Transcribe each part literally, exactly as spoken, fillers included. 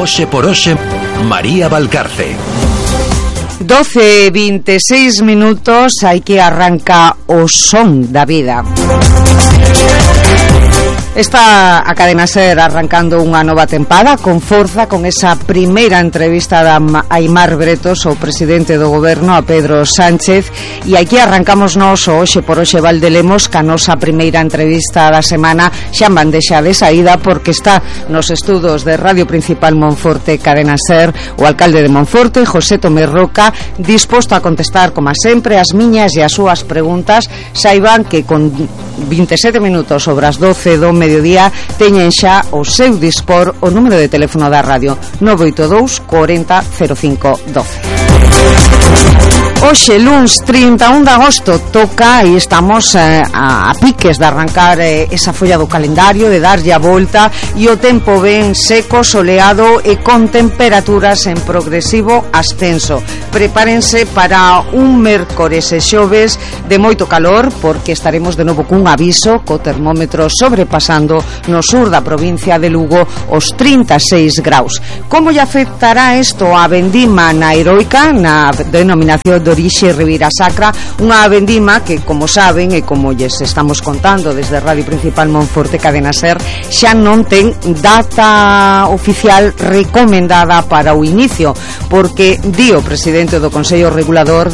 Hoxe por hoxe, María Valcarce. doce e vinte e seis minutos, hai que arranca o son da vida. Está a Cadena Ser arrancando unha nova tempada con forza, con esa primeira entrevista da Aimar Bretos, o presidente do goberno, a Pedro Sánchez, e aquí arrancamos nos o Hoxe por Hoxe Valdelemos ca nosa primeira entrevista da semana xa en bandexa de saída, porque está nos estudos de Radio Principal Monforte Cadena Ser o alcalde de Monforte, José Tomé Roca, disposto a contestar como sempre as miñas e as súas preguntas. Saiban que con vinte e sete minutos sobre as doce do mediodía teñen xa o seu dispor o número de teléfono da radio nove oito dous corenta cero cinco doce. Hoxe, luns trinta e un de agosto, toca e estamos eh, a, a piques de arrancar eh, esa folla do calendario, de darlle a volta, e o tempo ben seco, soleado e con temperaturas en progresivo ascenso. Prepárense para un mércores e xoves de moito calor, porque estaremos de novo cun aviso, co termómetro sobrepasando no sur da provincia de Lugo os trinta e seis graus. Como lle afectará isto a vendima na Heroica, na denominación de orixe Ribeira Sacra, unha vendima que, como saben e como lles estamos contando desde Radio Principal Monforte Cadena Ser, xa non ten data oficial recomendada para o inicio, porque di o presidente do Consello Regulador,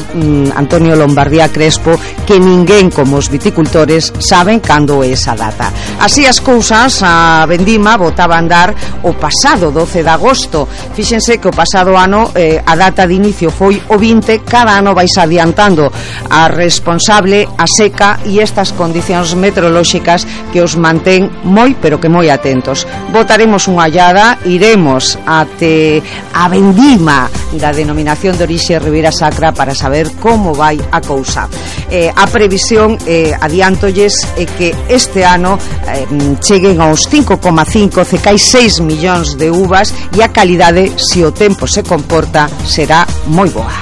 Antonio Lombardía Crespo, que ninguén como os viticultores saben cando é esa data. Así as cousas, a vendima botaba a andar o pasado doce de agosto. Fíxense que o pasado ano eh, a data de inicio foi o vinte, cada ano vais adiantando a responsable a seca e estas condicións meteorolóxicas que os mantén moi, pero que moi atentos. Botaremos unha ollada, iremos até a vendima da denominación de orixe Ribeira Sacra para saber como vai a cousa. Eh, a previsión, eh, adiantolles, é que este ano eh, cheguen aos cinco coma cinco, cecai seis millóns de uvas, e a calidade, se o tempo se comporta, será moi boa.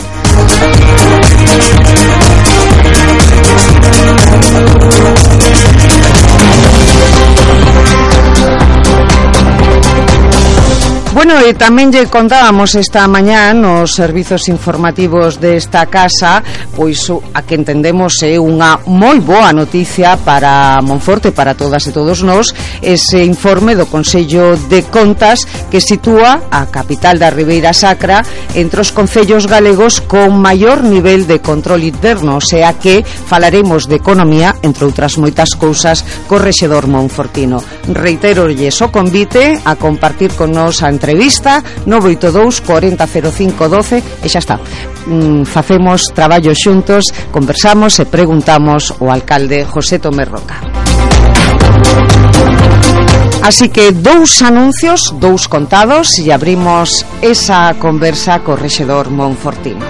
Bueno, e tamén lle contábamos esta mañá nos servizos informativos desta casa, pois a que entendemos é unha moi boa noticia para Monforte, para todas e todos nós, ese informe do Consello de Contas que sitúa a capital da Ribeira Sacra entre os concellos galegos con maior nivel de control interno, o sea que falaremos de economía, entre outras moitas cousas, co rexedor monfortino. Reiterolles o convite a compartir con nos a entrevista nove oito dous corenta cero cinco doce e xa está. Mm, facemos traballo xuntos, conversamos e preguntamos ao alcalde José Tomé Roca. Así que dous anuncios, dous contados, e abrimos esa conversa co rexedor monfortino.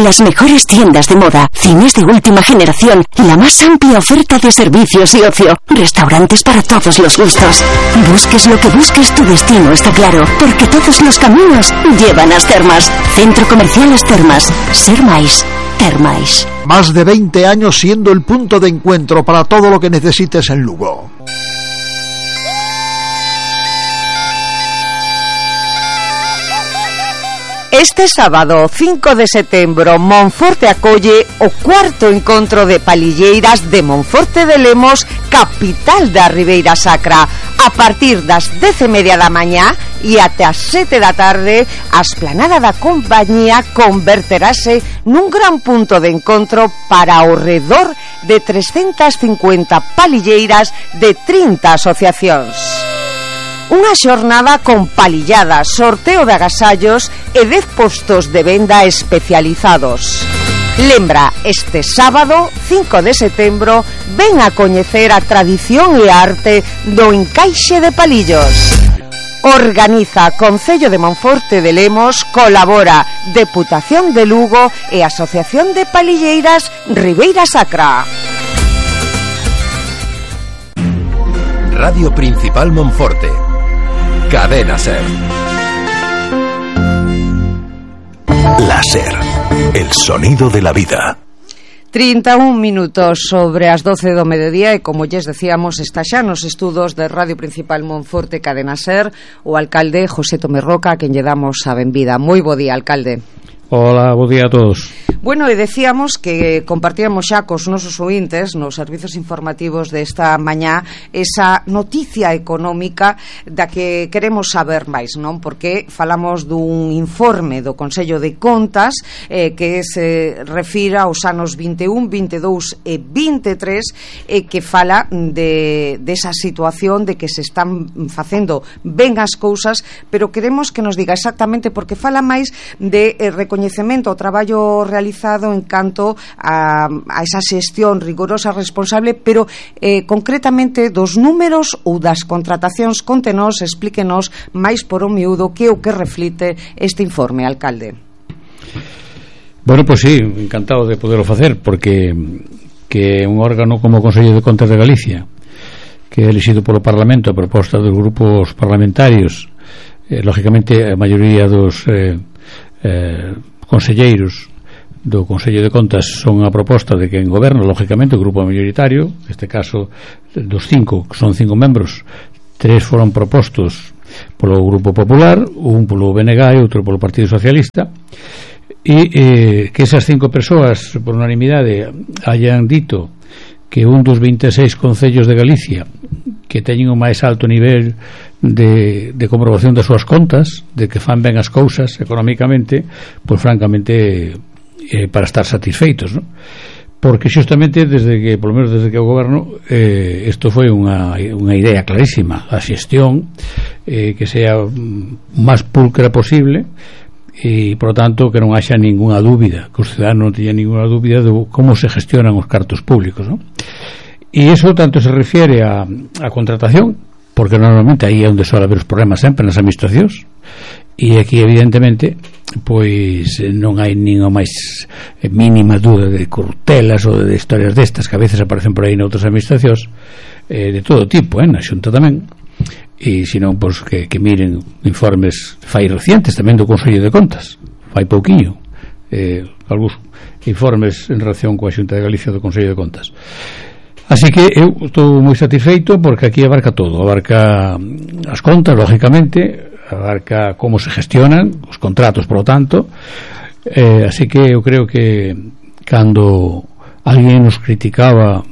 Las mejores tiendas de moda, cines de última generación, la más amplia oferta de servicios y ocio, restaurantes para todos los gustos. Busques lo que busques, tu destino está claro, porque todos los caminos llevan a As Termas. Centro Comercial As Termas. Ser máis, ter máis. Más de veinte años siendo el punto de encuentro para todo lo que necesites en Lugo. Este sábado cinco de setembro Monforte acolle o cuarto encontro de palilleiras de Monforte de Lemos, capital da Ribeira Sacra. A partir das dez e media da mañá e até as sete da tarde, a esplanada da compañía converterase nun gran punto de encontro para ao redor de trescentas cincuenta palilleiras de trinta asociacións. Unha xornada con palilladas, sorteo de agasallos e dez postos de venda especializados. Lembra, este sábado, cinco de setembro, ven a coñecer a tradición e a arte do encaixe de palillos. Organiza Concello de Monforte de Lemos, colabora Deputación de Lugo e Asociación de Palilleiras Ribeira Sacra. Radio Principal Monforte. Cadena Ser. Láser, el sonido de la vida. trinta e un minutos sobre as doce do mediodía e, como lles decíamos, está xa nos estudos de Radio Principal Monforte Cadena Ser o alcalde José Tomé Roca, a quen lle damos a benvida. Moi bo día, alcalde. Hola, bo día a todos. Bueno, e decíamos que compartíamos xa cos nosos ointes nos servizos informativos desta mañá esa noticia económica da que queremos saber máis, non? Porque falamos dun informe do Consello de Contas eh, que se refira aos anos vinte e un, vinte e dous e vinte e tres e que fala de desa situación de que se están facendo ben as cousas, pero queremos que nos diga exactamente, porque fala máis de eh, recoñecemento ao traballo realizado en canto a, a esa xestión rigorosa, responsable, pero eh, concretamente dos números ou das contratacións. Contenos, explíquenos máis por o miúdo que o que reflite este informe, alcalde. Bueno, pois pues sí, encantado de poderlo facer, porque que un órgano como o Consello de Contas de Galicia, que é elixido polo Parlamento a proposta dos grupos parlamentarios, eh, lógicamente a maioría dos eh, eh, conselleiros do Consello de Contas son a proposta de quen goberna, lógicamente o grupo mayoritario, neste caso dos cinco, que son cinco membros, tres foron propostos polo Grupo Popular, un polo B N G e outro polo Partido Socialista, e eh, que esas cinco persoas por unanimidade hayan dito que un dos vinte e seis concellos de Galicia que teñen o máis alto nivel de, de comprobación das súas contas, de que fan ben as cousas económicamente, pois francamente eh, para estar satisfeitos, ¿no? Porque xustamente desde que, polo menos desde que o goberno, eh, isto foi unha, unha idea clarísima, a xestión eh, que sea o máis pulcra posible, e por lo tanto que non haxa ninguna dúbida, que os ciudadanos non teñan ninguna dúbida de como se gestionan os cartos públicos, ¿no? E iso tanto se refiere a, a contratación, porque normalmente aí é onde suele haber os problemas sempre nas administracións, e aquí evidentemente pois non hai nin a máis mínima dúda de corruptelas ou de historias destas que a veces aparecen por aí noutras administracións, eh, de todo tipo, eh, na Xunta tamén, e senón pois que, que miren informes fai recientes tamén do Consello de Contas, fai pouquiño eh, algúns informes en relación coa Xunta de Galicia do Consello de Contas. Así que eu estou moi satisfeito porque aquí abarca todo, abarca as contas, lógicamente, abarca como se gestionan os contratos, por lo tanto, eh, así que eu creo que cando alguén nos criticaba,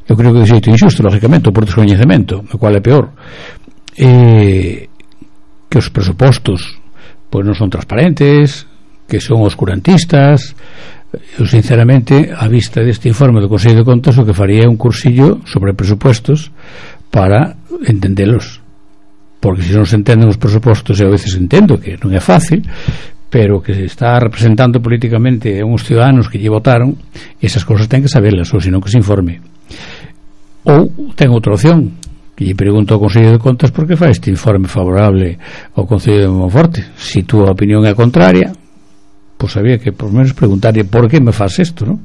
eu creo que de xeito injusto, lógicamente, por descoñecemento, o cual é peor, eh, que os presupostos pois non son transparentes, que son oscurantistas. Eu sinceramente, a vista deste informe do Consello de Contas, o que faría é un cursillo sobre presupostos para entendelos, porque se non se entenden os presupostos, e a veces entendo que non é fácil, pero que se está representando políticamente a uns ciudadanos que lle votaron, esas cousas ten que saberlas, ou senón que se informe. Ou ten outra opción, que lle pregunto ao Consello de Contas por que fai este informe favorable ao Concello de Monforte. Se túa opinión é contraria, pois había que por menos preguntarlle por que me faz isto, non?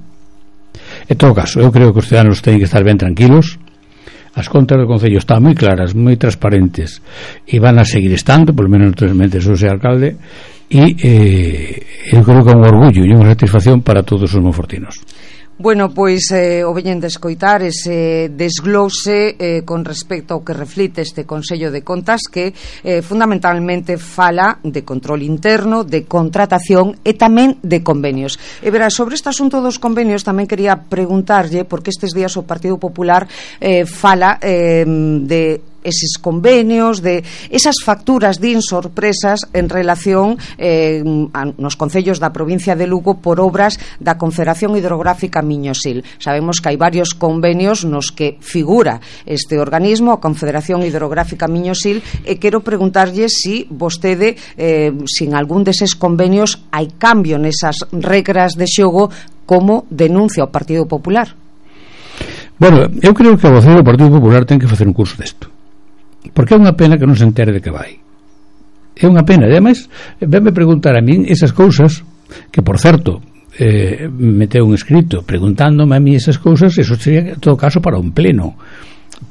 En todo caso, eu creo que os ciudadanos teñen que estar ben tranquilos. As contas do Concello están moi claras, moi transparentes, e van a seguir estando, por lo menos naturalmente sou xe alcalde, e eh, eu creo que é un orgullo e unha satisfacción para todos os monfortinos. Bueno, pois eh, o veñen de escoitar ese desglose eh, con respecto ao que reflite este Consello de Contas, que eh, fundamentalmente fala de control interno, de contratación e tamén de convenios. E verá, sobre este asunto dos convenios tamén quería preguntarlle, porque estes días o Partido Popular eh, fala eh, de eses convenios, de esas facturas din sorpresas en relación eh, a, nos concellos da provincia de Lugo por obras da Confederación Hidrográfica Miñosil. Sabemos que hai varios convenios nos que figura este organismo, a Confederación Hidrográfica Miñosil, e quero preguntarlle si vostede, eh, sin algún deses convenios, hai cambio nesas regras de xogo, como denuncia o Partido Popular. Bueno, eu creo que a voceira do Partido Popular ten que facer un curso desto, porque é unha pena que non se entere de que vai. É unha pena, e ademais venme preguntar a min esas cousas, que por certo eh, meteu un escrito preguntándome a mí esas cousas, eso sería en todo caso para un pleno,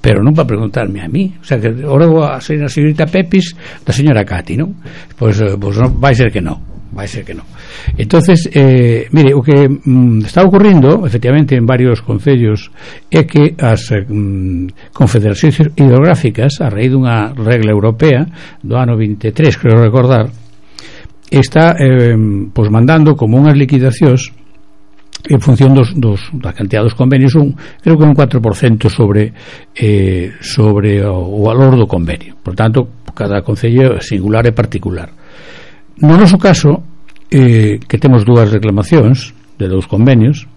pero non para preguntarme a mí. O sea, que ahora a señorita Pepis da señora Cati, non? Pois, pois non, vai ser que non. vai ser que non. Entonces, eh, mire, o que mm, está ocurrindo efectivamente en varios concellos é que as mm, confederacións hidrográficas, a raíz dunha regla europea do ano vinte e tres, creo recordar, está eh, pues mandando como unhas liquidacións en función dos, dos da cantidad dos convenios, un, creo que un cuatro por ciento sobre eh, sobre o, o valor do convenio. Por tanto, cada concello é singular e particular. No noso caso, eh, que temos dúas reclamacións de dous convenios,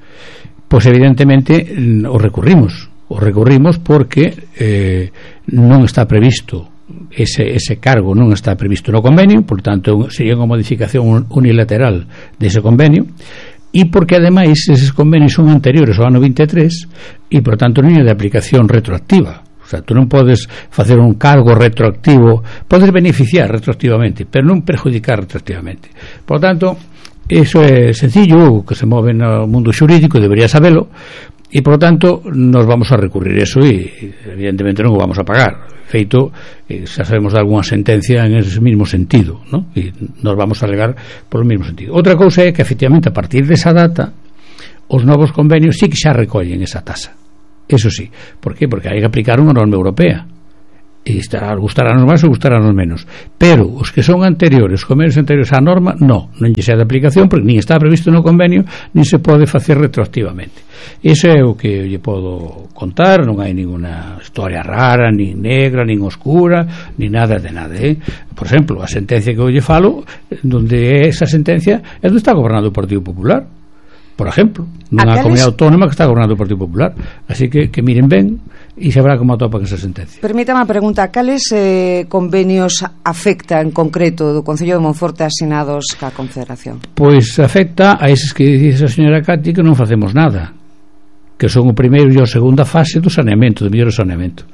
pois evidentemente o recurrimos o recurrimos porque eh, non está previsto ese, ese cargo, non está previsto no convenio, por tanto sería unha modificación unilateral dese convenio, e porque ademais eses convenios son anteriores ao ano vinte e tres e por tanto non é de aplicación retroactiva. O sea, tú non podes facer un cargo retroactivo, podes beneficiar retroactivamente, pero non perjudicar retroactivamente. Por tanto, eso é sencillo, que se move no mundo xurídico, debería sabelo, e por tanto nos vamos a recurrir eso e evidentemente non o vamos a pagar. Feito, eh, xa sabemos de algunha sentencia en ese mismo sentido, ¿no? E nos vamos a alegar por o mesmo sentido. Outra cousa é que efectivamente a partir desa data os novos convenios sí que xa recollen esa tasa. Eso sí, ¿por qué? Porque hai que aplicar unha norma europea e estará, gustará-nos máis ou gustará-nos menos, pero os que son anteriores, os convenios anteriores á norma, no, non lle sea de aplicación porque nin está previsto no convenio nin se pode facer retroactivamente. Iso é o que lle podo contar, non hai ninguna historia rara, nin negra, nin oscura, nin nada de nada, eh? Por exemplo, a sentencia que eu lle falo, donde esa sentencia é onde está gobernando o Partido Popular, por exemplo, nunha comunidade autónoma que está gobernando o Partido Popular. Así que, que miren ben e sabrá como atopan esa sentencia. Permítame a pregunta, cales eh, convenios afecta en concreto do Concello de Monforte asinados ca Confederación? Pois afecta a eses que dice a señora Cati que non facemos nada, que son o primeiro e a segunda fase do saneamento, do mellor saneamento.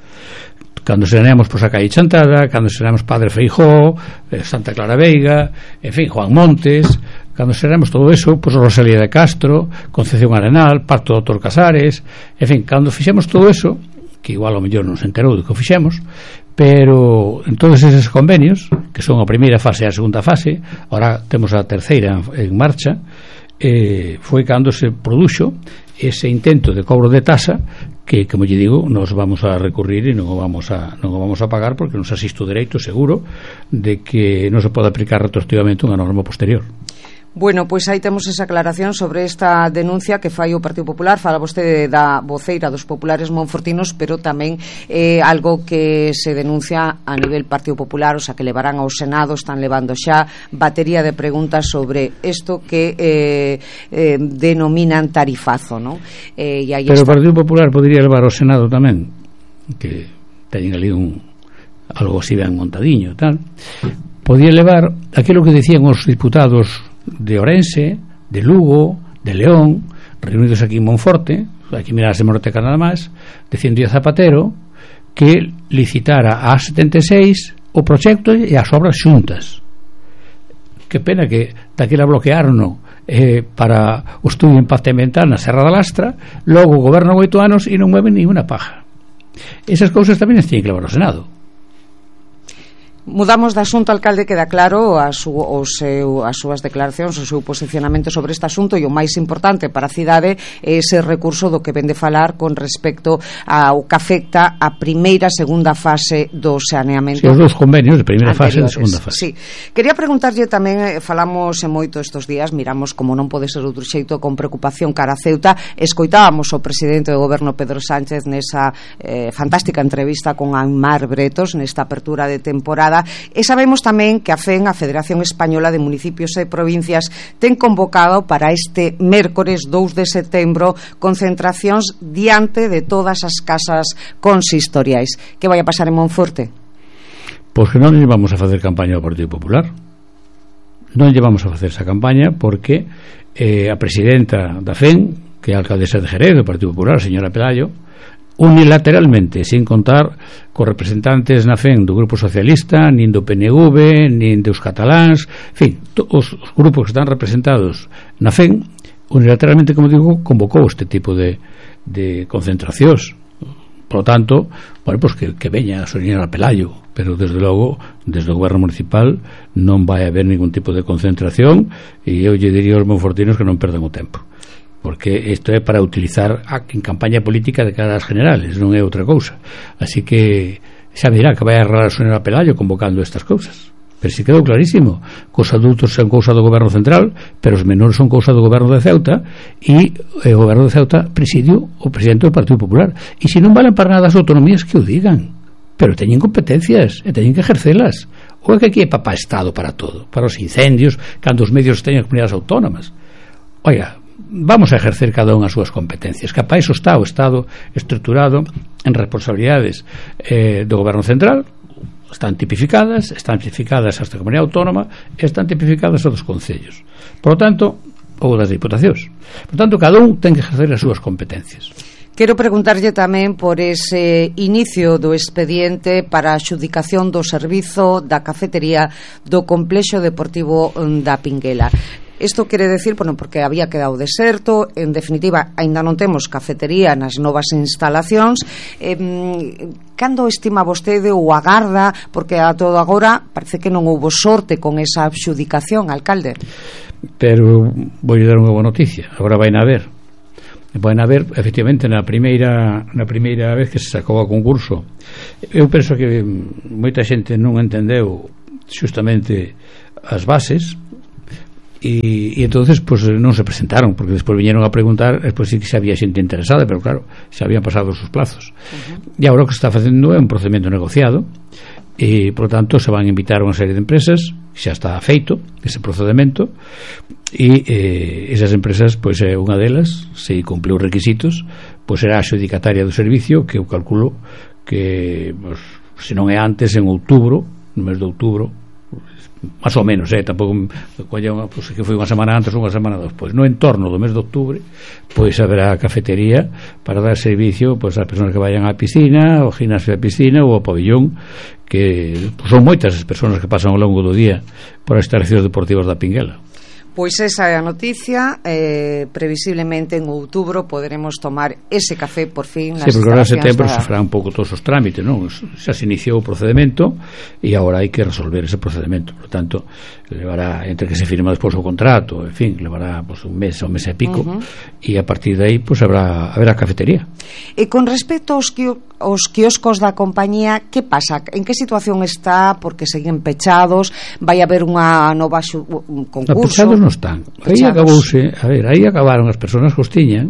Cando saneamos pois, a calle Chantada, cando saneamos Padre Feijó, Santa Clara Veiga, en fin, Juan Montes, cando saneamos todo eso, pois Rosalía de Castro, Concepción Arenal, Parto do Doutor Casares, en fin, cando fixemos todo eso, que igual ao mellor non se enterou do que fixemos, pero en todos eses convenios, que son a primeira fase e a segunda fase, ahora temos a terceira en, en marcha, eh, foi cando se produxo ese intento de cobro de tasa que, como lle digo, nos vamos a recurrir e non o vamos a, non o vamos a pagar porque nos asiste o dereito seguro de que non se pode aplicar retroactivamente unha norma posterior. Bueno, pois aí temos esa aclaración sobre esta denuncia que fai o Partido Popular. Fala vostede da voceira dos populares monfortinos, pero tamén é eh, algo que se denuncia a nivel Partido Popular, o sea, que levarán ao Senado, están levando xa batería de preguntas sobre isto que eh, eh, denominan tarifazo, ¿no? Eh, e aí pero está. O Partido Popular podría levar ao Senado tamén, que teñen ali un algo así ben montadiño, tal. Podía levar aquilo que decían os diputados de Ourense, de Lugo, de León, reunidos aquí en Monforte, aquí mirar a hemeroteca nada máis, dicindo a Zapatero que licitara a setenta e seis o proxecto e as obras xuntas. Que pena que daquela bloquearon eh, para o estudio de impacto ambiental na Serra da Lastra, logo gobernan oito anos e non mueven ni unha paja. Esas cousas tamén as tiñen que levar ao Senado. Mudamos de asunto, alcalde, queda claro a su, o seu, as súas declaracións, o seu posicionamento sobre este asunto, e o máis importante para a cidade é ese recurso do que vende falar con respecto ao que afecta a primeira e segunda fase do saneamento. Sí, os dous convenios de primeira fase e de segunda fase. Sí. Quería preguntarlle tamén, falamos en moito estes días, miramos como non pode ser outro xeito, con preocupación cara a Ceuta. Escoitábamos o presidente do goberno Pedro Sánchez nesa eh, fantástica entrevista con Aimar Bretos nesta apertura de temporada. E sabemos tamén que a F E N, a Federación Española de Municipios e Provincias, ten convocado para este mércores dous de setembro concentracións diante de todas as casas consistoriais. Que vai a pasar en Monforte? Pois que non lle vamos a facer campaña ao Partido Popular. Non lle vamos a facer esa campaña porque eh, a presidenta da F E N, que é a alcaldesa de Jerez do Partido Popular, a señora Pelayo, unilateralmente, sin contar cos representantes na F E N do Grupo Socialista, nin do P N V, nin dos cataláns, en fin, os, os grupos que están representados na F E N, unilateralmente, como digo, convocou este tipo de, de concentracións Por lo tanto, bueno, pues que, que veña a señora Pelayo, pero desde logo, desde o goberno municipal non vai haber ningún tipo de concentración, e eu lle diría aos monfortinos que non perdan o tempo, porque isto é para utilizar a, en campaña política de cara ás generales, non é outra cousa. Así que xa me dirá que vai a errar a señora Pelayo convocando estas cousas. Pero si quedou clarísimo que os adultos son cousa do goberno central, pero os menores son cousa do goberno de Ceuta, e o goberno de Ceuta presidio o presidente do Partido Popular. E se non valen para nada as autonomías, que o digan, pero teñen competencias e teñen que ejercelas. Ou é que aquí é papá Estado para todo, para os incendios, cando os medios teñen comunidades autónomas. Oiga, vamos a ejercer cada unha as súas competencias, que para iso está o Estado estruturado en responsabilidades eh, do goberno central. Están tipificadas, están tipificadas hasta a comunidade autónoma, están tipificadas os dos concellos, por lo tanto, ou das diputacións. Por tanto, cada un ten que ejercer as súas competencias. Quero preguntarlle tamén por ese inicio do expediente para a adxudicación do servizo da cafetería do Complexo Deportivo da Pinguela. Isto quere decir, bueno, porque había quedado deserto, en definitiva, aínda non temos cafetería nas novas instalacións. Eh, cando estima vostede ou agarda, porque a todo agora parece que non houbo sorte con esa adxudicación, alcalde? Pero vou dar unha boa noticia, agora vai na ver. Vai na ver, efectivamente, na primeira na primeira vez que se sacou a concurso. Eu penso que moita xente non entendeu xustamente as bases, e, e entonces pues non se presentaron, porque despois viñeron a preguntar, despois sí que se había xente interesada, pero claro, se habían pasado os plazos. Uh-huh. E agora o que se está facendo é un procedimento negociado, e por lo tanto se van a invitar a unha serie de empresas, xa está feito ese procedimento, e eh, esas empresas, pois é unha delas, se cumple os requisitos, pois será a adxudicataria do servicio, que eu calculo que pues, se non é antes, en outubro, no mes de outubro, máis ou menos, eh, tampouco pues, que foi unha semana antes ou unha semana despois, no entorno do mes de outubro, pois haberá cafetería para dar servicio pois ás persoas que vayan á piscina, ao gimnasio da piscina ou ao pabellón, que pues, son moitas as persoas que pasan ao longo do día por as instalacións deportivas da Pinguela. Pois esa é a noticia, eh, previsiblemente en outubro poderemos tomar ese café por fin. Sí, porque agora en setembro da... se fará un pouco todos os trámites, non? Xa se iniciou o procedimento e agora hai que resolver ese procedimento, por tanto levará, entre que se firma despois o contrato, en fin, levará pues, un mes ou un mes e pico, uh-huh. e a partir de aí pues, habrá, habrá cafetería. E con respecto aos, aos quioscos da compañía, que pasa? En que situación está? Porque seguen pechados? Vai haber unha nova xu, un concurso? Pechados non están. Aí acabouse, a ver, aí acabaron as persoas que os tiñan,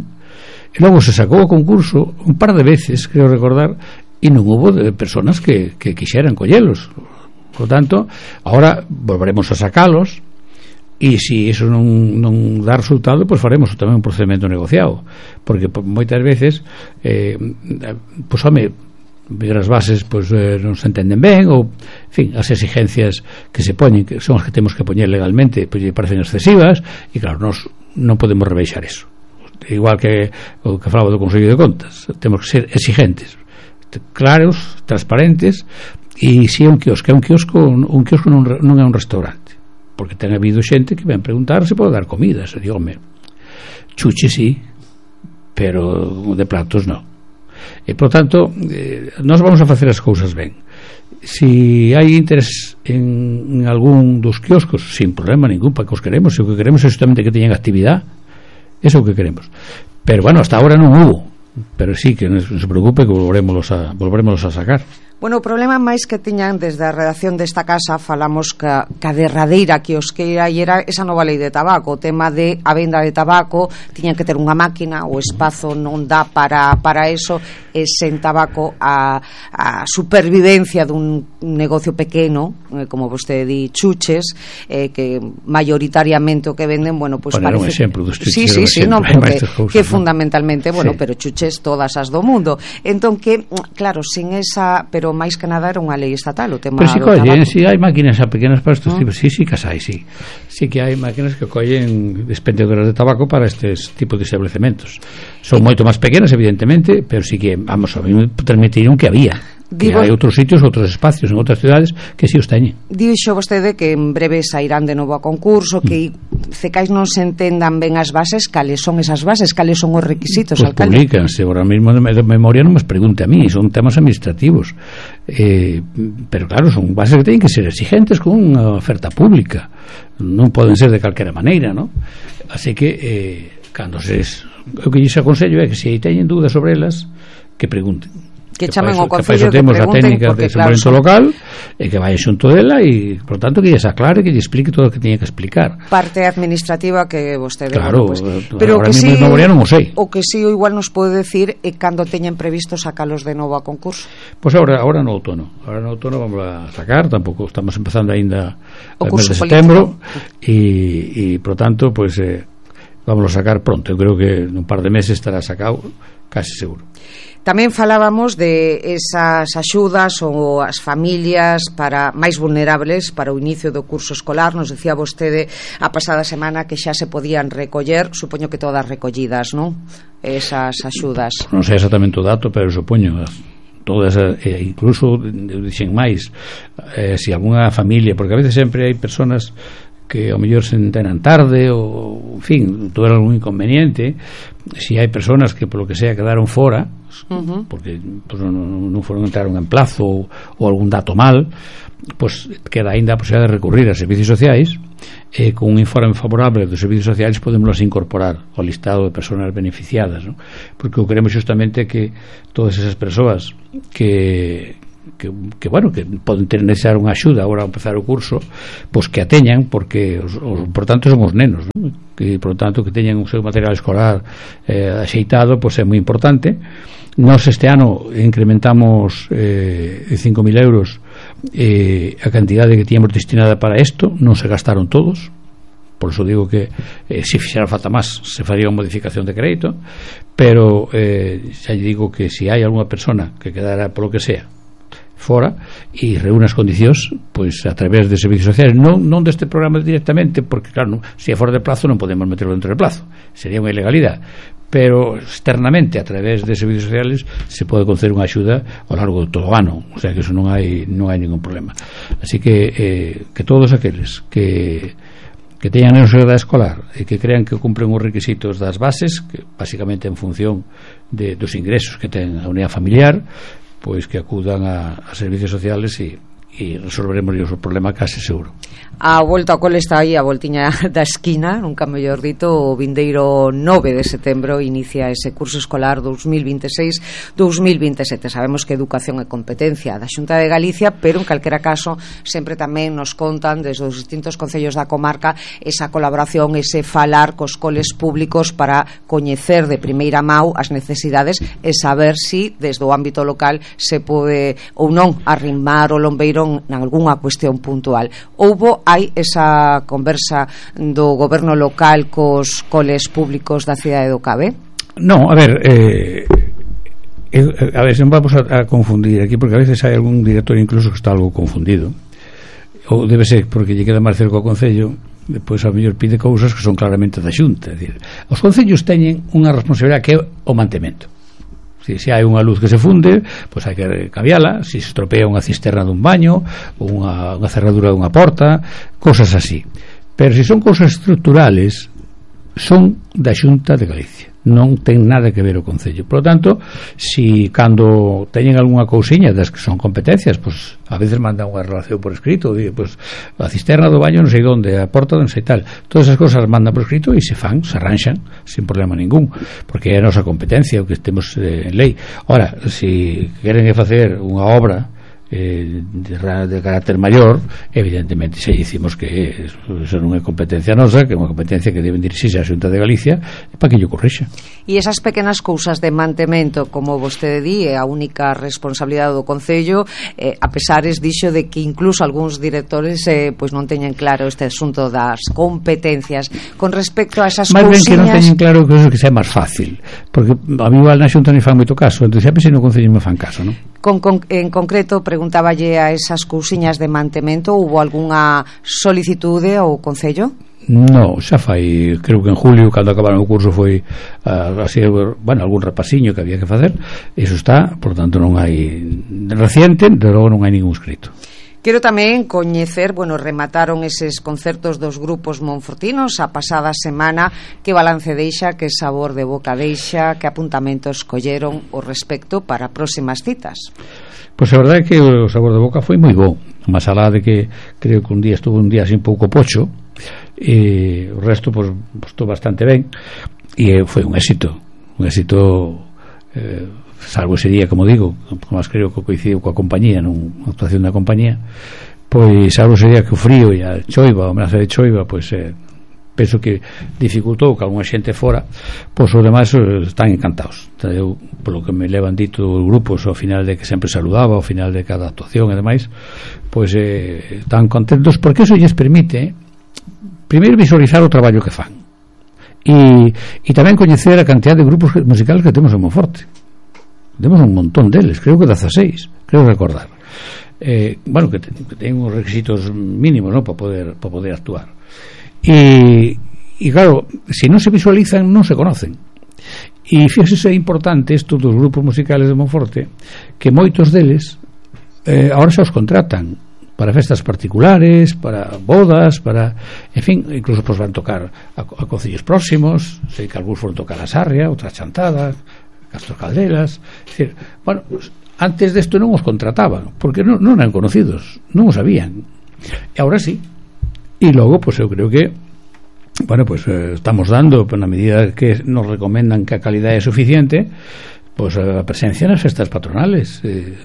e logo se sacou o concurso un par de veces, creo recordar, e non hubo de persoas que, que quixeran collelos. Por lo tanto, ahora volveremos a sacalos, e se iso non, non dá resultado, pois faremos tamén un procedimento negociado, porque moitas veces eh, pois home, as bases pois, eh, non se entenden ben, ou en fin, as exigencias que se poñen, que son as que temos que poñer legalmente, pois lle parecen excesivas, e claro, nós non podemos rebeixar eso. Igual que o que falaba do Consello de Contas, temos que ser exigentes, claros, transparentes. E se é un quiosco, é un quiosco, un quiosco non, non é un restaurante, porque ten habido xente que ven preguntar se pode dar comida, se digo, home, chuche sí, pero de platos non. E por tanto, eh, nós vamos a facer as cousas ben. Se hai interés en, en algún dos quioscos, sin problema ningún, para que os queremos, se o que queremos é justamente que teñan actividade, eso é o que queremos. Pero bueno, hasta ahora non hubo, pero sí que non se preocupe que volveremos a, volveremos a sacar. Bueno, o problema máis que tiñan desde a redacción desta casa, falamos que a derradeira quiosqueira e era esa nova lei de tabaco, o tema de a venda de tabaco, tiñan que ter unha máquina, o espazo non dá para, para eso, e sen tabaco a, a supervivencia dun negocio pequeno, eh, como vostede di, chuches, eh, que mayoritariamente o que venden, bueno, pues bueno, parece... un exemplo dos chuches. Sí, sí, sí, non, pero que, cousas, que ¿no? fundamentalmente, bueno, sí. pero chuches todas as do mundo. Entón que, claro, sin esa... pero máis que nada era unha lei estatal o tema pero si do collen, tabaco. si hai máquinas a pequenas para estes ¿no? tipos, sí, sí que hai, sí sí que hai máquinas que collen expendedoras de tabaco para estes tipos de establecementos, son sí. moito máis pequenas evidentemente, pero sí que, vamos, a mí me transmitiron que había que Digo, hai outros sitios, outros espacios en outras cidades que si sí os teñen. Dixo vostede que en breve sairán de novo a concurso, que cecais non se entendan ben as bases, cales son esas bases, cales son os requisitos, pues alcalde? Publícanse, ahora mismo de memoria non me pregunte a mí, son temas administrativos, eh, pero claro, son bases que teñen que ser exigentes con unha oferta pública, non poden ser de calquera maneira, ¿no? Así que eh, cando se o que lles aconsello é que se teñen dúdas sobre elas, que pregunten, que chamen ao que concello, que temos a pregunten, técnica porque de claro, desenvolvemento son... local e que vai xunto dela e, por tanto, que lles aclare, que lles explique todo o que tiña que explicar. Parte administrativa que vostede... Claro, bueno, pues, pero ahora que mismo sí, de memoria non o sei. O que sí, o igual nos pode decir é cando teñen previsto sacalos de novo a concurso. Pois pues ahora, ahora no outono, ahora no outono vamos a sacar, tampouco estamos empezando aínda o mes de setembro e, e, por tanto, pois pues, eh, vamos a sacar pronto. Eu creo que nun par de meses estará sacado, casi seguro. Tamén falábamos de esas axudas ou as familias para máis vulnerables para o inicio do curso escolar. Nos decía vostede a pasada semana que xa se podían recoller, supoño que todas recollidas, non? Esas axudas. Non sei exactamente o dato, pero supoño todas, eh, incluso dixen máis, eh, se algunha familia, porque a veces sempre hai personas que ao mellor se enteran tarde ou, en fin, tuveron algún inconveniente. Si hai personas que polo que sea quedaron fora, uh-huh. porque pues, non, non foron entraron en plazo ou, ou algún dato mal, pues queda aínda a posibilidade de recurrir a servicios sociais e eh, con un informe favorable dos servicios sociais podemos incorporar ao listado de persoas beneficiadas, ¿no? Porque o queremos justamente que todas esas persoas que Que, que bueno, que poden ter necesitar unha axuda agora ao empezar o curso, pois que a teñan, porque os, os importantes son os nenos, ¿no? Que por tanto que teñan o seu material escolar eh, axeitado, pois é moi importante. Nós este ano incrementamos eh, cinco mil euros eh, a cantidade que tiñamos destinada para isto, non se gastaron todos. Por eso digo que eh, se fixera falta máis se faría unha modificación de crédito, pero eh, xa digo que se hai algunha persona que quedara polo que sea fora e reúne as condicións, pois a través de servicios sociais, non, non deste programa directamente, porque claro, non, se é fora de plazo non podemos meterlo dentro de plazo, sería unha ilegalidade, pero externamente a través de servicios sociales se pode conceder unha axuda ao largo de todo o ano, o sea que eso non hai non hai ningún problema. Así que eh, que todos aqueles que que teñan a edade escolar e que crean que cumpren os requisitos das bases, que basicamente en función de, dos ingresos que ten a unidade familiar, pois que acudan a, a servicios sociales e, e resolveremos o problema case seguro. A volta ao cole está aí a voltiña da esquina, nunca mellor dito. O vindeiro nove de setembro inicia ese curso escolar dos mil veintiséis dos mil veintisiete. Sabemos que educación é competencia da Xunta de Galicia, pero en calquera caso sempre tamén nos contan desde os distintos concellos da comarca esa colaboración, ese falar cos coles públicos para coñecer de primeira mão as necesidades e saber si desde o ámbito local se pode ou non arrimar o lombeiro en algunha cuestión puntual. Houbo hai esa conversa do goberno local cos coles públicos da cidade do Cabe? Non, a ver, eh, eh, a ver, non vamos a, a confundir aquí, porque a veces hai algún director incluso que está algo confundido, ou debe ser porque lle queda máis cerca ao concello, depois a mellor pide cousas que son claramente da Xunta. É dicir, os concellos teñen unha responsabilidade que é o mantemento. Si, se hai unha luz que se funde, pois hai que cambiala. Se se estropea unha cisterna dun baño, unha, unha cerradura dunha porta, cosas así. Pero se son cousas estructurales, son da Xunta de Galicia, non ten nada que ver o Concello. Por lo tanto, si cando teñen algunha cousiña das que son competencias, pois a veces mandan unha relación por escrito, di, pois a cisterna do baño non sei onde, a porta non sei tal, todas esas cosas mandan por escrito e se fan, se arranxan sin problema ningún, porque é a nosa competencia o que temos eh, en lei. Ora, si queren facer unha obra Eh, de, de carácter maior, evidentemente se dicimos que eso non é competencia nosa, que é unha competencia que deben dirixirse a Xunta de Galicia para que lle corrixa. E esas pequenas cousas de mantemento, como vostede di, é a única responsabilidade do Concello, eh, a pesares dixo de que incluso algúns directores eh, pois non teñen claro este asunto das competencias con respecto a esas cousiñas. Máis ben que non teñen claro que eso que sea máis fácil, porque a mí igual na Xunta non fan moito caso, entón sempre se no Concello me fan caso, non? Con, con, en concreto, preguntáballe a esas cousiñas de mantemento, hubo algunha solicitude ao Concello? No, xa fai, creo que en julio, cando acabaron o curso, foi uh, así, bueno, algún repasiño que había que facer. Eso está, por tanto non hai reciente, de logo non hai ningún escrito. Quero tamén coñecer, bueno, remataron eses concertos dos grupos monfortinos a pasada semana, que balance deixa, que sabor de boca deixa, que apuntamentos colleron o respecto para próximas citas. Pois a verdade é que o sabor de boca foi moi bo, máis alá de que creo que un día estuvo un día así un pouco pocho, e o resto pois, pois estou bastante ben, e foi un éxito, un éxito eh, salvo ese día, como digo, como creo que coincidiu coa compañía, nunha actuación da compañía, pois salvo ese día que o frío e a choiva, a amenaza de choiva, pois eh, penso que dificultou que alguna xente fora, pois os demais están encantados. Eu, polo que me levan dito os grupos ao final de que sempre saludaba, ao final de cada actuación e demais, pois eh, están contentos porque eso lles permite primeiro visualizar o traballo que fan e, e tamén coñecer a cantidad de grupos musicales que temos en Monforte. Temos un montón deles, creo que dieciséis, creo recordar. Eh, bueno, que, te, que ten uns requisitos mínimos, ¿no?, para poder, para poder actuar. E, e claro, se non se visualizan, non se conocen. E fíjese, é importante isto dos grupos musicales de Monforte, que moitos deles eh, ahora xa os contratan para festas particulares, para bodas, para, en fin, incluso pues van tocar a, a concellos próximos, sei que algúns foron tocar a Sarria, outras Chantada, Castro Caldelas, é dicir, bueno, pues, antes desto non os contrataban, porque non, non eran conocidos, non os sabían, e agora sí, e logo, pues eu creo que bueno, pues eh, estamos dando, na medida que nos recomendan que a calidade é suficiente, pues a presencia nas festas patronales, eh,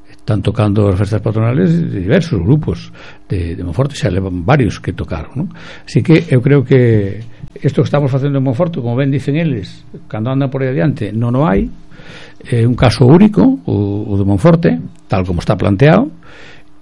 están tocando as festas patronales de diversos grupos de, de Monforte, xa levan varios que tocaron, ¿no? Así que eu creo que isto que estamos facendo en Monforte, como ben dicen eles, cando andan por aí adiante non o hai, é un caso único o, o de Monforte, tal como está planteado,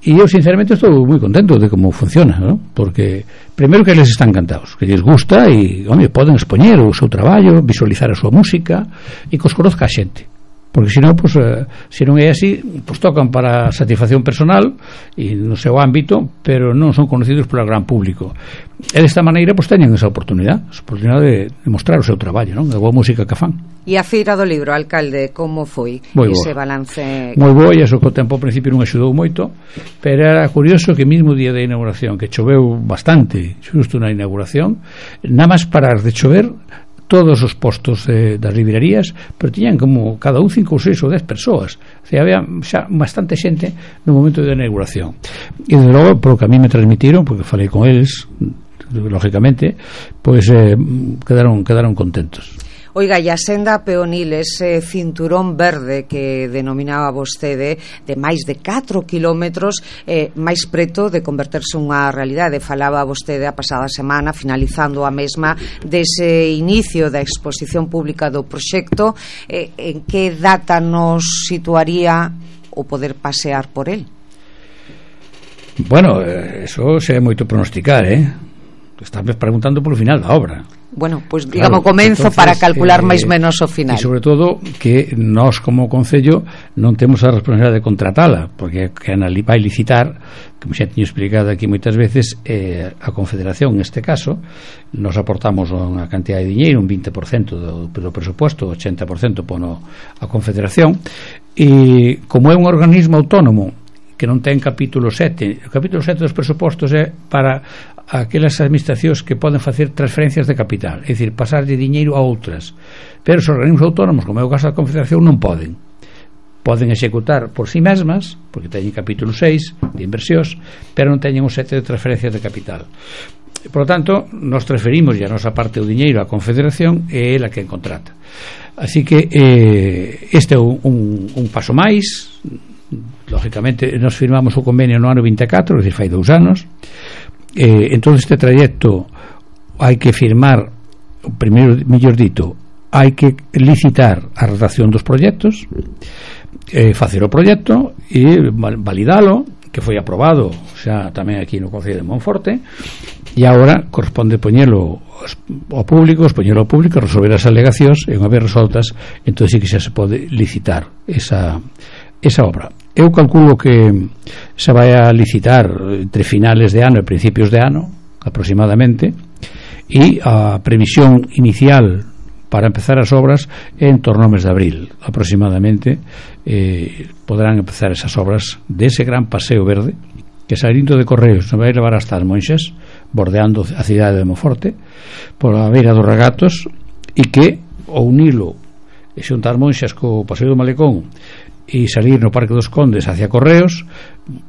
e eu sinceramente estou moi contento de como funciona, ¿no? Porque primeiro que eles están encantados, que lles gusta e, home, poden expoñer o seu traballo, visualizar a súa música e que os conozca a xente, porque senón, pues, eh, se non é así, pues tocan para satisfacción personal e no seu ámbito, pero non son conocidos polo gran público, e desta maneira pues teñen esa oportunidade esa oportunidade de, de mostrar o seu traballo, non? A boa música que fan. E a Feira do Libro, alcalde, como foi moi ese boa. balance? Moi bo, e iso que o tempo ao principio non axudou moito, pero era curioso que mismo día da inauguración, que choveu bastante xusto na inauguración, nada máis parar de chover, todos os postos eh, das librerías, pero tiñan como cada un cinco ou seis ou dez persoas, o sea, había xa bastante xente no momento da inauguración, e desde logo, polo que a mí me transmitiron, porque falei con eles lógicamente, pois eh, quedaron, quedaron contentos. Oiga, e a senda peonil, ese cinturón verde que denominaba vostede, de máis de catro kilómetros, eh, máis preto de converterse unha realidade. Falaba vostede a pasada semana, finalizando a mesma, dese inicio da exposición pública do proxecto. Eh, en que data nos situaría o poder pasear por el? Bueno, eso se é moito pronosticar, eh? Estás preguntando polo final da obra. Bueno, pois pues, digamos, claro, comenzo entonces, para calcular eh, máis menos o final. E sobre todo que nós como Concello non temos a responsabilidade de contratala, porque quen vai licitar, como xa teño explicado aquí moitas veces, eh, a Confederación, neste caso, nos aportamos unha cantidad de diñeiro, un vinte por cento do, do presupuesto, ochenta por cento pono a Confederación, e como é un organismo autónomo que non ten capítulo sete, o capítulo sete dos presupostos é para aquelas administracións que poden facer transferencias de capital, é dicir, pasar de diñeiro a outras, pero os organismos autónomos, como é o caso da Confederación, non poden poden executar por si mesmas, porque teñen capítulo seis de inversións, pero non teñen o sete de transferencias de capital. Por lo tanto, nos transferimos ya a nosa parte do diñeiro á Confederación, e é ela que contrata. Así que eh, este é un, un, un paso máis. Lógicamente nos firmamos o convenio no ano vinte e catro, é dicir, fai dous anos. Eh, en todo este trayecto hai que firmar, o primeiro, mellor dito, hai que licitar a redacción dos proxectos, eh, facer o proxecto e validalo, que foi aprobado xa tamén aquí no Concello de Monforte, e agora corresponde poñelo ao público, poñelo ao público, resolver as alegacións, e unha vez resoltas, entón sí que xa se pode licitar esa esa obra. Eu calculo que se vai a licitar entre finales de ano e principios de ano aproximadamente, e a previsión inicial para empezar as obras é en torno ao mes de abril aproximadamente. Eh, poderán empezar esas obras dese gran paseo verde que salindo de Correos nos vai levar hasta as Monxas, bordeando a cidade de Monforte por a beira dos regatos, e que ao unilo e xuntar Monxas co Paseo do Malecón e salir no Parque dos Condes hacia Correos,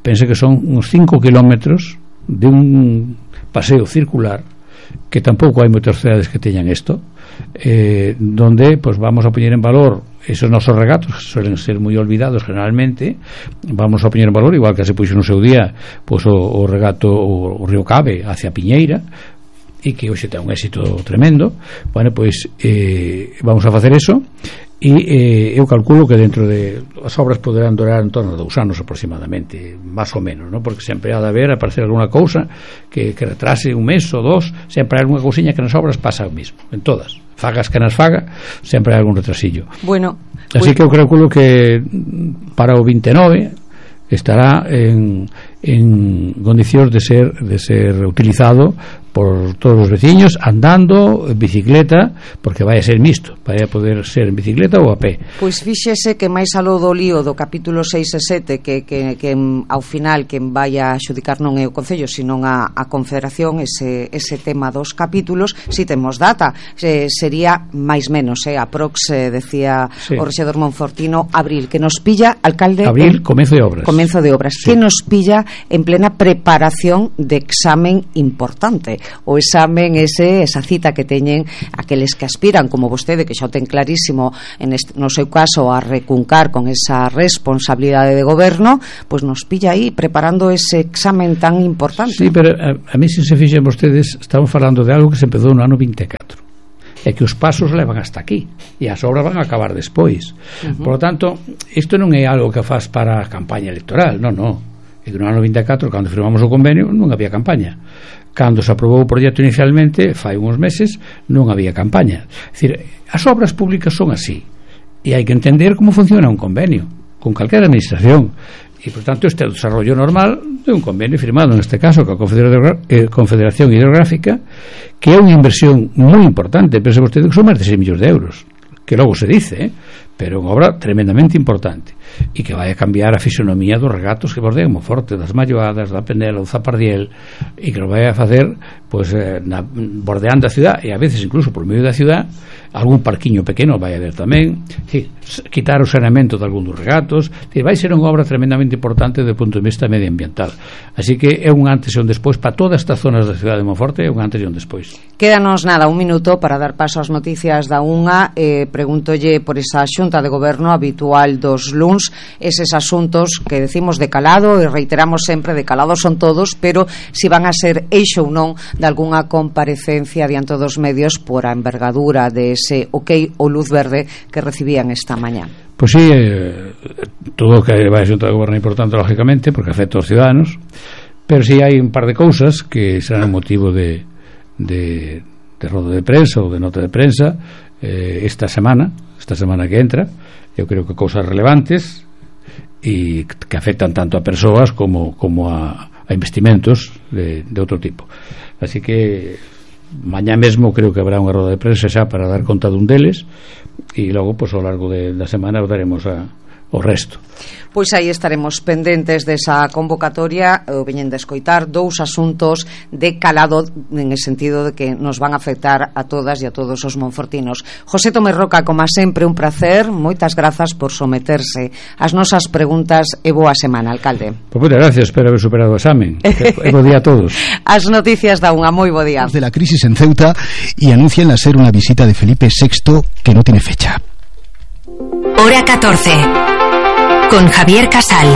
pense que son uns cinco kilómetros de un paseo circular, que tampouco hai moitas cidades que teñan isto, eh, donde pues, vamos a poñer en valor esos nosos regatos que suelen ser moi olvidados generalmente. Vamos a poñer en valor, igual que se puxo no seu día pues, o, o regato o, o río Cabe hacia Piñeira, e que hoxe ten un éxito tremendo. Bueno, pois eh, vamos a facer eso, e eh, eu calculo que dentro de as obras poderán durar en torno a dous anos aproximadamente, máis ou menos, ¿no? Porque sempre ha de haber, aparecer alguna cousa que, que retrase un mes ou dos, sempre hai alguna cousiña que nas obras pasa o mismo, en todas, fagas que nas faga, sempre hai algún retrasillo. Bueno, así pues... que eu calculo que para o vinte e nove estará en, en condicións de ser de ser utilizado por todos os veciños, andando, en bicicleta, porque vai a ser mixto, vai a poder ser en bicicleta ou a pé. Pois fíxese que máis aló do lío do capítulo seis e sete, que, que, que ao final quen vai a xudicar non é o Concello, sino a, a Confederación, ese, ese tema dos capítulos, si temos data, eh, sería máis menos, eh, aprox, eh, decía sí. O rexedor monfortino, abril, que nos pilla, alcalde... Abril, en, comezo de obras. Comenzo de obras, sí. Que nos pilla en plena preparación de examen importante, o examen ese, esa cita que teñen aqueles que aspiran, como vostede, que xa o ten clarísimo en este, no seu caso, a recuncar con esa responsabilidade de goberno, pois nos pilla aí preparando ese examen tan importante. Sí, pero a, a mí, se se fixen vostedes, estamos falando de algo que se empezou no ano vinte e catro, e que os pasos levan hasta aquí e as obras van a acabar despois. Uh-huh. Por lo tanto, isto non é algo que faz para a campaña electoral, non, non. E no ano vinte e catro, cando firmamos o convenio, non había campaña. Cando se aprobou o proxecto inicialmente, fai uns meses, non había campaña. É dicir, as obras públicas son así, e hai que entender como funciona un convenio con calquera administración, e por tanto este é o desarrollo normal de un convenio firmado, neste caso, con a Confederación Hidrográfica, que é unha inversión moi importante. Pense vostede que son máis de seis millóns de euros, que logo se dice, eh? Pero unha obra tremendamente importante, e que vai a cambiar a fisonomía dos regatos que bordean Monforte, das Malloadas, da Penela, do Zapardiel, e que lo vai a facer pues, eh, na, bordeando a ciudad, e a veces incluso por medio da ciudad, algún parquiño pequeno vai a haber tamén, sí, quitar o saneamento de algún dos regatos, sí, vai ser unha obra tremendamente importante desde o punto de vista medioambiental. Así que é un antes e un despois para todas estas zonas da ciudad de Monforte, é un antes e un despois. Quédanos nada, un minuto para dar paso ás noticias da unha. eh, Preguntolle por esa xunta de goberno habitual dos luns, eses asuntos que decimos de calado, e reiteramos sempre, de calado son todos, pero si van a ser eixo ou non de algunha comparecencia diante dos medios por a envergadura de ese ok ou luz verde que recibían esta mañá. Pois sí, eh, todo o que vai a xunta de goberno é importante, lógicamente, porque afecta aos ciudadanos, pero si sí hai un par de cousas que serán motivo de, de, de rodo de prensa ou de nota de prensa eh, esta semana, esta semana que entra. Eu creo que cousas relevantes e que afectan tanto a persoas como, como a, a investimentos de, de outro tipo. Así que mañá mesmo creo que habrá unha roda de prensa xa para dar conta dun deles, e logo, pois, ao largo de, da semana daremos a, o resto. Pois aí estaremos pendentes desa convocatoria. O veñen de escoitar dous asuntos de calado, en el sentido de que nos van a afectar a todas e a todos os monfortinos. José Tomé Roca, como sempre, un placer, moitas grazas por someterse ás nosas preguntas e boa semana, alcalde. Pois moitas gracias, espero haber superado o examen. E bo día a todos. As noticias da unha, moi bo día. De la crisis en Ceuta, y anuncian la ser una visita de Felipe sexto que no tiene fecha. Hora catorce. Con Javier Casal.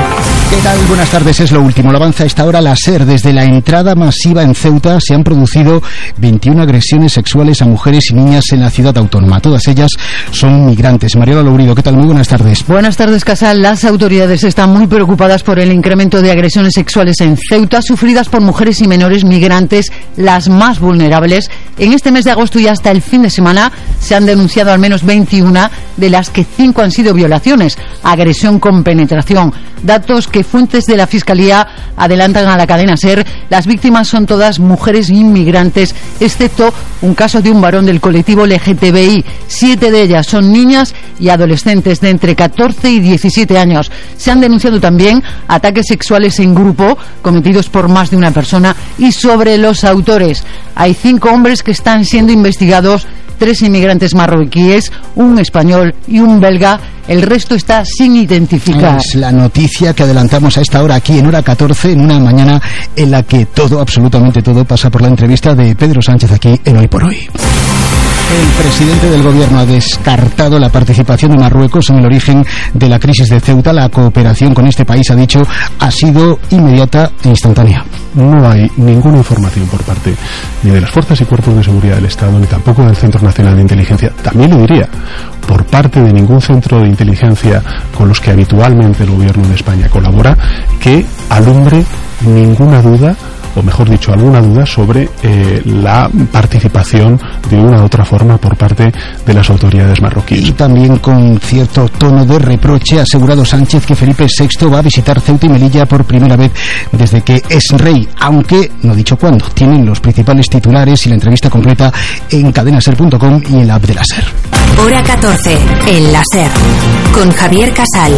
¿Qué tal? Buenas tardes, es lo último. Lo avanza a esta hora la SER. Desde la entrada masiva en Ceuta se han producido veintiuna agresiones sexuales a mujeres y niñas en la ciudad autónoma. Todas ellas son migrantes. Mariola Lourido, ¿qué tal? Muy buenas tardes. Buenas tardes, Casal. Las autoridades están muy preocupadas por el incremento de agresiones sexuales en Ceuta sufridas por mujeres y menores migrantes, las más vulnerables. En este mes de agosto y hasta el fin de semana se han denunciado al menos veintiuna, de las que cinco han sido violaciones, agresión con con penetración. Datos que fuentes de la Fiscalía adelantan a la cadena SER. Las víctimas son todas mujeres inmigrantes, excepto un caso de un varón del colectivo L G T B I. Siete de ellas son niñas y adolescentes de entre catorce y diecisiete años. Se han denunciado también ataques sexuales en grupo cometidos por más de una persona, y sobre los autores hay cinco hombres que están siendo investigados, tres inmigrantes marroquíes, un español y un belga. El resto está sin identificar. Es la noticia que adelantamos a esta hora aquí en Hora catorce, en una mañana en la que todo, absolutamente todo, pasa por la entrevista de Pedro Sánchez aquí en Hoy por Hoy. El presidente del gobierno ha descartado la participación de Marruecos en el origen de la crisis de Ceuta. La cooperación con este país, ha dicho, ha sido inmediata e instantánea. No hay ninguna información por parte ni de las fuerzas y cuerpos de seguridad del Estado, ni tampoco del Centro Nacional de Inteligencia, también lo diría, por parte de ningún centro de inteligencia con los que habitualmente el gobierno de España colabora, que alumbre ninguna duda, o mejor dicho, alguna duda sobre eh, la participación de una u otra forma por parte de las autoridades marroquíes. Y también con cierto tono de reproche ha asegurado Sánchez que Felipe sexto va a visitar Ceuta y Melilla por primera vez desde que es rey, aunque no ha dicho cuándo. Tienen los principales titulares y la entrevista completa en cadenaser punto com y en la app de la SER. Hora catorce, en la SER, con Javier Casal.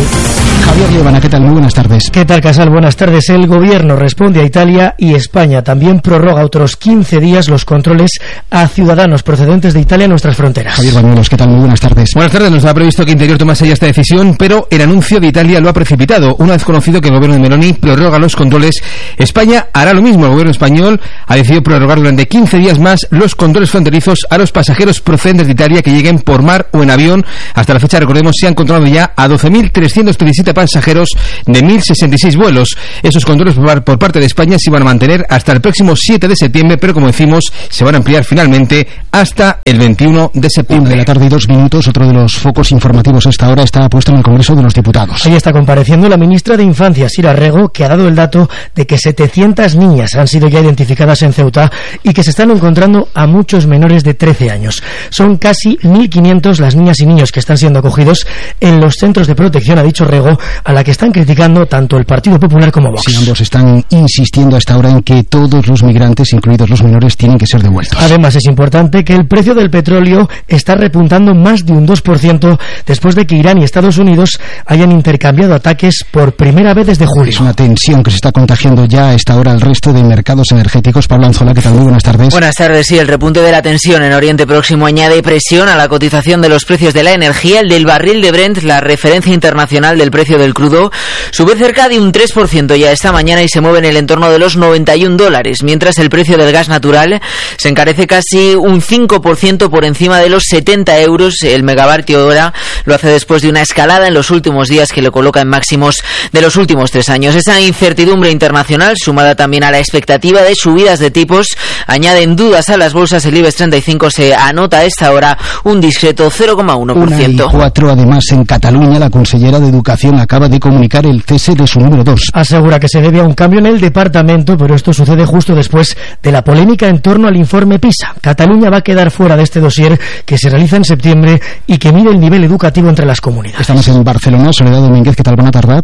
Javier Liobana, ¿qué tal? Muy buenas tardes. ¿Qué tal, Casal? Buenas tardes. El gobierno responde a Italia y España también prorroga otros quince días los controles a ciudadanos procedentes de Italia en nuestras fronteras. Javier Bañuelos, ¿qué tal? Muy buenas tardes. Buenas tardes. Nos ha previsto que Interior tomase ya esta decisión, pero el anuncio de Italia lo ha precipitado. Una vez conocido que el gobierno de Meloni prorroga los controles, España hará lo mismo. El gobierno español ha decidido prorrogar durante quince días más los controles fronterizos a los pasajeros procedentes de Italia que lleguen por mar o en avión. Hasta la fecha, recordemos, se han controlado ya a doce mil trescientos diecisiete pasajeros de mil sesenta y seis vuelos. Esos controles por parte de España se van a mantener hasta el próximo siete de septiembre, pero como decimos, se van a ampliar finalmente hasta el veintiuno de septiembre. Una de la tarde y dos minutos. Otro de los focos informativos a esta hora está puesto en el Congreso de los Diputados. Ahí está compareciendo la ministra de Infancia, Sira Rego, que ha dado el dato de que setecientas niñas han sido ya identificadas en Ceuta y que se están encontrando a muchos menores de trece años. Son casi mil quinientos las niñas y niños que están siendo acogidos en los centros de protección, ha dicho Rego, a la que están criticando tanto el Partido Popular como Vox. Sí, ambos están insistiendo hasta ahora en que todos los migrantes, incluidos los menores, tienen que ser devueltos. Además, es importante que el precio del petróleo está repuntando más de un dos por ciento después de que Irán y Estados Unidos hayan intercambiado ataques por primera vez desde julio. Es una tensión que se está contagiando ya a esta hora al resto de mercados energéticos. Pablo Anzola, ¿qué tal? Muy buenas tardes. Buenas tardes. Sí, el repunte de la tensión en Oriente Próximo añade presión a la cotización de los precios de la energía. El del barril de Brent, la referencia internacional del precio del crudo, sube cerca de un tres por ciento ya esta mañana y se mueve en el entorno de los noventa y un dólares, mientras el precio del gas natural se encarece casi un cinco por ciento por encima de los setenta euros el megavatio hora. Lo hace después de una escalada en los últimos días que lo coloca en máximos de los últimos tres años. Esa incertidumbre internacional, sumada también a la expectativa de subidas de tipos, añaden dudas a las bolsas. El IBEX treinta y cinco se anota a esta hora un discreto cero coma uno por ciento. Una y cuatro, además, en Cataluña, la consellera de Educación acaba de comunicar el cese de su número dos. Asegura que se debe a un cambio en el departamento, pero esto sucede justo después de la polémica en torno al informe PISA. Cataluña va a quedar fuera de este dossier que se realiza en septiembre y que mide el nivel educativo entre las comunidades. Estamos en Barcelona. Soledad Domínguez, ¿qué tal? Buena tarde.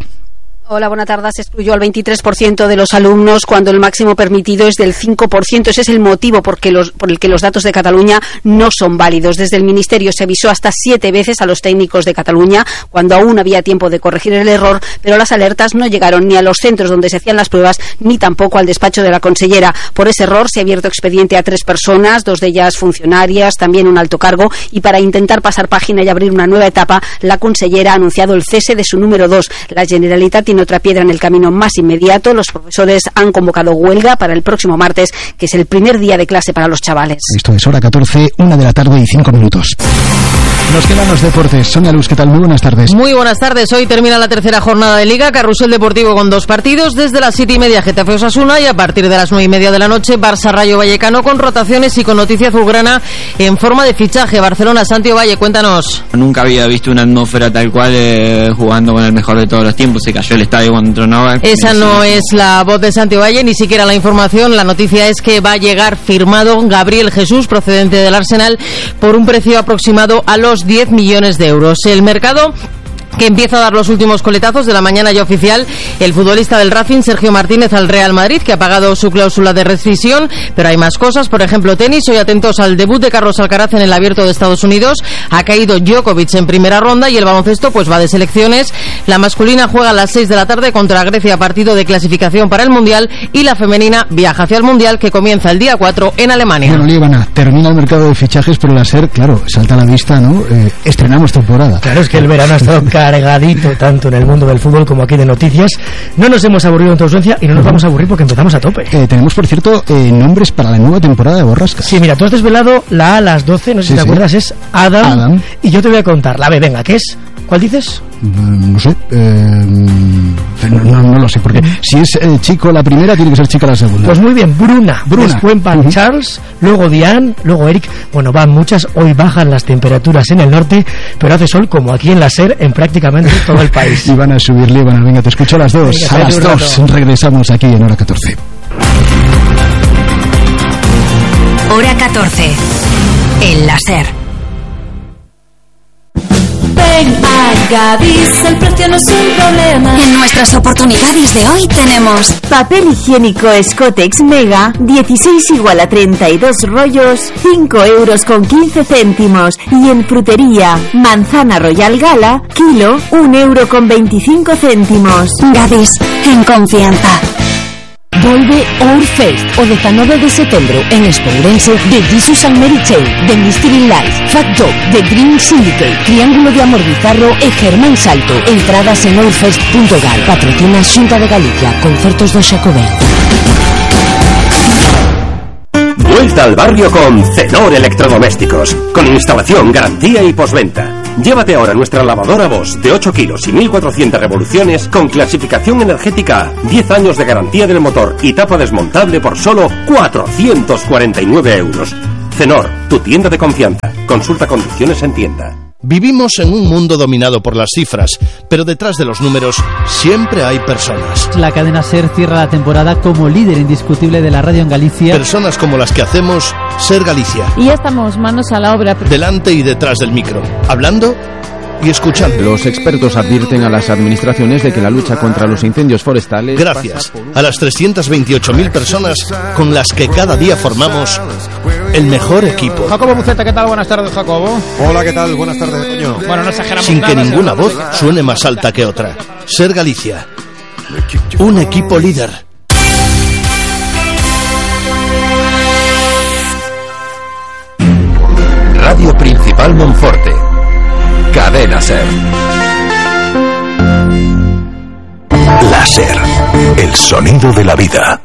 Hola, buena tarde. Se excluyó al veintitrés por ciento de los alumnos cuando el máximo permitido es del cinco por ciento. Ese es el motivo por, que los, por el que los datos de Cataluña no son válidos. Desde el Ministerio se avisó hasta siete veces a los técnicos de Cataluña cuando aún había tiempo de corregir el error, pero las alertas no llegaron ni a los centros donde se hacían las pruebas ni tampoco al despacho de la consellera. Por ese error se ha abierto expediente a tres personas, dos de ellas funcionarias, también un alto cargo, y para intentar pasar página y abrir una nueva etapa, la consellera ha anunciado el cese de su número dos. La Generalitat tiene otra piedra en el camino más inmediato. Los profesores han convocado huelga para el próximo martes, que es el primer día de clase para los chavales. Esto es Hora catorce, una de la tarde y cinco minutos. Nos quedan los deportes. Sonia Luz, ¿qué tal? Muy buenas tardes. Muy buenas tardes. Hoy termina la tercera jornada de Liga. Carrusel Deportivo con dos partidos. Desde las siete y media, Getafe Osasuna, y a partir de las nueve y media de la noche, Barça Rayo Vallecano, con rotaciones y con noticia azulgrana en forma de fichaje. Barcelona, Santi Valle, cuéntanos. Nunca había visto una atmósfera tal cual, eh, jugando con el mejor de todos los tiempos. Se cayó el estadio cuando entronaba. Esa no es la voz de Santi Valle, ni siquiera la información. La noticia es que va a llegar firmado Gabriel Jesús, procedente del Arsenal, por un precio aproximado a los diez millones de euros. El mercado que empieza a dar los últimos coletazos de la mañana ya oficial el futbolista del Racing, Sergio Martínez, al Real Madrid, que ha pagado su cláusula de rescisión, pero hay más cosas, por ejemplo tenis. Hoy atentos al debut de Carlos Alcaraz en el Abierto de Estados Unidos. Ha caído Djokovic en primera ronda y el baloncesto pues va de selecciones. La masculina juega a las seis de la tarde contra Grecia, partido de clasificación para el Mundial, y la femenina viaja hacia el Mundial, que comienza el día cuatro en Alemania. Bueno, Líbana, termina el mercado de fichajes, pero la SER, claro, salta a la vista, ¿no? Eh, estrenamos temporada. Claro, es que el verano ha estado cargadito tanto en el mundo del fútbol como aquí de noticias. No nos hemos aburrido en tu ausencia y no nos vamos a aburrir porque empezamos a tope. Eh, tenemos, por cierto, eh, nombres para la nueva temporada de Borrascas. Sí, mira, tú has desvelado la A a las doce, no sé sí, si te sí. acuerdas, es Adam, Adam, y yo te voy a contar la B, venga, ¿qué es? ¿Cuál dices? No sé, eh, no, no, no lo sé, porque si es eh, chico la primera, tiene que ser chica la segunda. Pues muy bien, Bruna, Bruna. después van uh-huh. Charles, luego Diane, luego Eric. Bueno, van muchas, hoy bajan las temperaturas en el norte, pero hace sol como aquí en la SER en prácticamente todo el país. Y van a subir, Líbana, venga, te escucho a las dos. Venga, a las dos regresamos aquí en Hora catorce. Hora catorce, en la SER. Ven a Gadis, el precio no es un problema. En nuestras oportunidades de hoy tenemos papel higiénico Scotex Mega, dieciséis igual a treinta y dos rollos, cinco euros con quince céntimos. Y en frutería, manzana Royal Gala, kilo, un euro con veinticinco céntimos. Gadis, en confianza. Volve Outfest o dezanove de setembro en Espourense de Jesus and Mary Chain, de Mystery Life, Fat Dog, de Green Syndicate, Triángulo de Amor Bizarro e Germán Salto. Entradas en outfest punto gal. Patrocina Xunta de Galicia. Concertos do Xacobeo. Vuelta al barrio con Cenor Electrodomésticos, con instalación, garantía y postventa. Llévate ahora nuestra lavadora Bosch de ocho kilos y mil cuatrocientas revoluciones con clasificación energética, diez años de garantía del motor y tapa desmontable por solo cuatrocientos cuarenta y nueve euros. Cenor, tu tienda de confianza. Consulta condiciones en tienda. Vivimos en un mundo dominado por las cifras, pero detrás de los números siempre hay personas. La cadena SER cierra la temporada como líder indiscutible de la radio en Galicia. Personas como las que hacemos SER Galicia. Y ya estamos manos a la obra. Delante y detrás del micro, hablando y escuchando. Los expertos advierten a las administraciones de que la lucha contra los incendios forestales... Gracias a las trescientas veintiocho mil personas con las que cada día formamos el mejor equipo. Jacobo Buceta, ¿qué tal? Buenas tardes, Jacobo. Hola, ¿qué tal? Buenas tardes, Toño. Bueno, no exageramos Sin nada, que ninguna voz porque... suene más alta que otra. SER Galicia. Un equipo líder. Radio Principal Monforte. Cadena SER. La SER, el sonido de la vida.